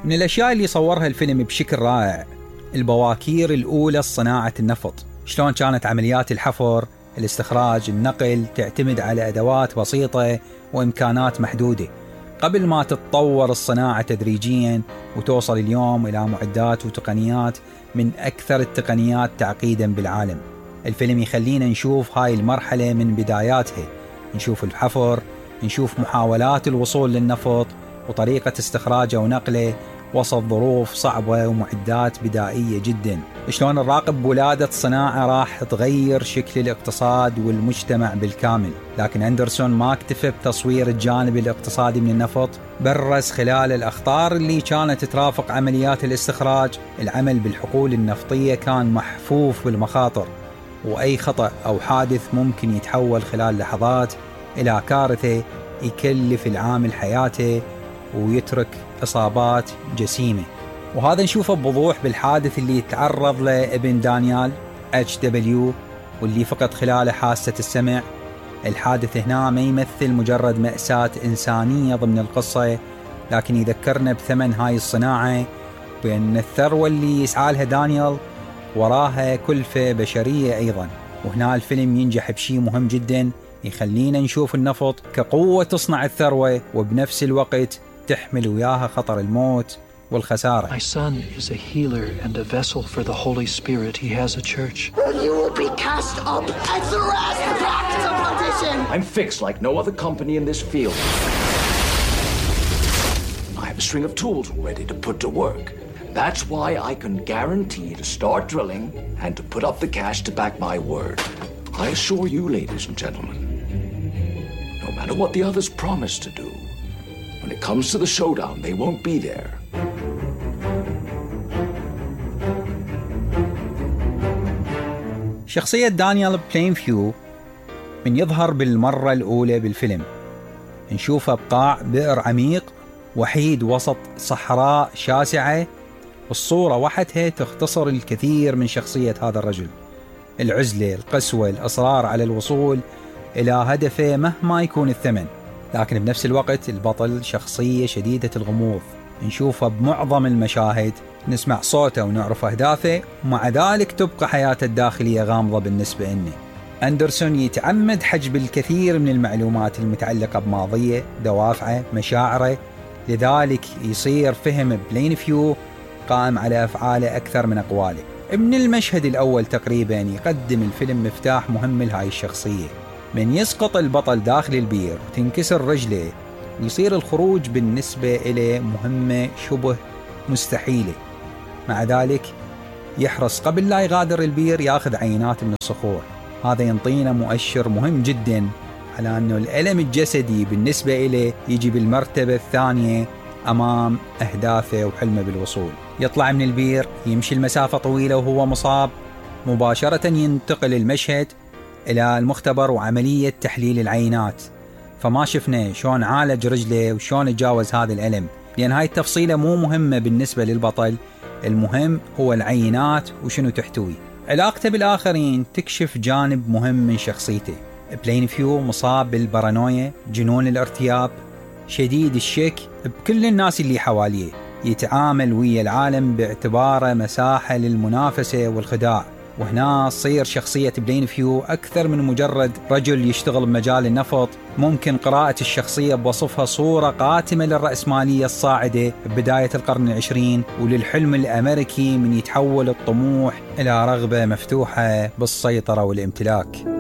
من الأشياء اللي صورها الفيلم بشكل رائع البواكير الأولى لصناعة النفط، شلون كانت عمليات الحفر، الاستخراج، النقل تعتمد على أدوات بسيطة وإمكانات محدودة قبل ما تتطور الصناعة تدريجيا وتوصل اليوم إلى معدات وتقنيات من أكثر التقنيات تعقيدا بالعالم. الفيلم يخلينا نشوف هاي المرحلة من بداياتها، نشوف الحفر، نشوف محاولات الوصول للنفط وطريقة استخراجه ونقله وسط ظروف صعبة ومعدات بدائية جدا. شلون نراقب ولادة صناعة راح تغير شكل الاقتصاد والمجتمع بالكامل. لكن أندرسون ما اكتفى بتصوير الجانب الاقتصادي من النفط، برز خلال الأخطار اللي كانت ترافق عمليات الاستخراج. العمل بالحقول النفطية كان محفوف بالمخاطر، وأي خطأ أو حادث ممكن يتحول خلال لحظات إلى كارثة يكلف العامل حياته ويترك إصابات جسيمة. وهذا نشوفه بوضوح بالحادث اللي تعرض له ابن دانيال HW واللي فقد خلاله حاسة السمع. الحادث هنا ما يمثل مجرد مأساة إنسانية ضمن القصة، لكن يذكرنا بثمن هاي الصناعة، بأن الثروة اللي يسعى لها دانيال وراها كلفة بشرية أيضا. وهنا الفيلم ينجح بشيء مهم جدا، يخلينا نشوف النفط كقوة تصنع الثروة وبنفس الوقت تحمل وياها خطر الموت والخسارة. My son is a healer and a vessel for the Holy Spirit. He has a church. You will be cast up and thrust back to perdition. I'm fixed like no other company in this field. I have a string of tools ready to put to work. That's why I can guarantee to start drilling and to put up the cash to back my word. I assure you, ladies and gentlemen, no matter what the others promise to do, when it comes to the showdown, they won't be there. شخصية دانيال بلينفيو من يظهر بالمرة الأولى بالفيلم نشوفه بقاع بئر عميق وحيد وسط صحراء شاسعة، والصورة وحدها تختصر الكثير من شخصية هذا الرجل. العزلة، القسوة، الإصرار على الوصول إلى هدفه مهما يكون الثمن. لكن بنفس الوقت البطل شخصية شديدة الغموض، نشوفه بمعظم المشاهد، نسمع صوته ونعرف أهدافه، ومع ذلك تبقى حياته الداخلية غامضة بالنسبة لنا. أندرسون يتعمد حجب الكثير من المعلومات المتعلقة بماضيه، دوافعه، مشاعره، لذلك يصير فهم بلينفيو قائم على أفعاله أكثر من أقواله. من المشهد الأول تقريبا يقدم الفيلم مفتاح مهم لهاي الشخصية. من يسقط البطل داخل البير وتنكسر رجله ويصير الخروج بالنسبة إليه مهمة شبه مستحيلة، مع ذلك يحرص قبل لا يغادر البير ياخذ عينات من الصخور. هذا ينطينا مؤشر مهم جدا على أنه الألم الجسدي بالنسبة إليه يجي بالمرتبة الثانية أمام أهدافه وحلمه بالوصول. يطلع من البير، يمشي المسافة طويلة وهو مصاب، مباشرة ينتقل المشهد إلى المختبر وعملية تحليل العينات. فما شفنا شلون عالج رجله وشلون يتجاوز هذا الألم، لأن هاي التفصيلة مو مهمة بالنسبة للبطل، المهم هو العينات وشنو تحتوي. علاقته بالآخرين تكشف جانب مهم من شخصيته. بلينفيو مصاب بالبارانويا، جنون الارتياب، شديد الشك بكل الناس اللي حواليه، يتعامل ويا العالم باعتباره مساحة للمنافسة والخداع. وهنا تصير شخصية بلينفيو أكثر من مجرد رجل يشتغل بمجال النفط. ممكن قراءة الشخصية بوصفها صورة قاتمة للرأسمالية الصاعدة ببداية القرن العشرين وللحلم الأمريكي من يتحول الطموح إلى رغبة مفتوحة بالسيطرة والامتلاك.